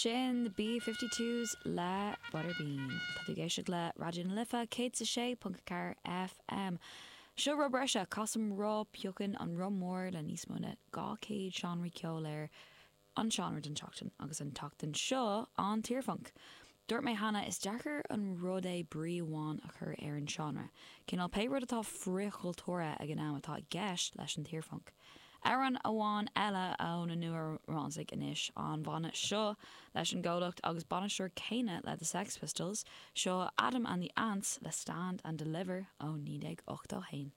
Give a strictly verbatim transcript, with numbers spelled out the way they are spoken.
Sin the B fifty twos le Butterbean. Tá tú ag éisteacht le Raidió na Life céad is a sé ponc a ceathair FM. Seo rud breise, casaim roth, piocann an roth mór le níos mó ná dhá chéad seánraí ceoil air an seánra den tseachtain agus an tseachtain seo an t-iarphunc. Dúirt mé cheana, is deacair an rud é brí amháin a chur ar an seánra. Cineál pé rud atá frithchultúrtha ag an am atá i gceist leis an t-iarphunc. Amhrán amháin eile ó na Nua-Rómánsaigh anois, an banna seo leis an gcomhlacht agus bainisteoir céanna le The Sex Pistols, seo Adam and the Ants le Stand and Deliver ó naoi déag ochtó a haon.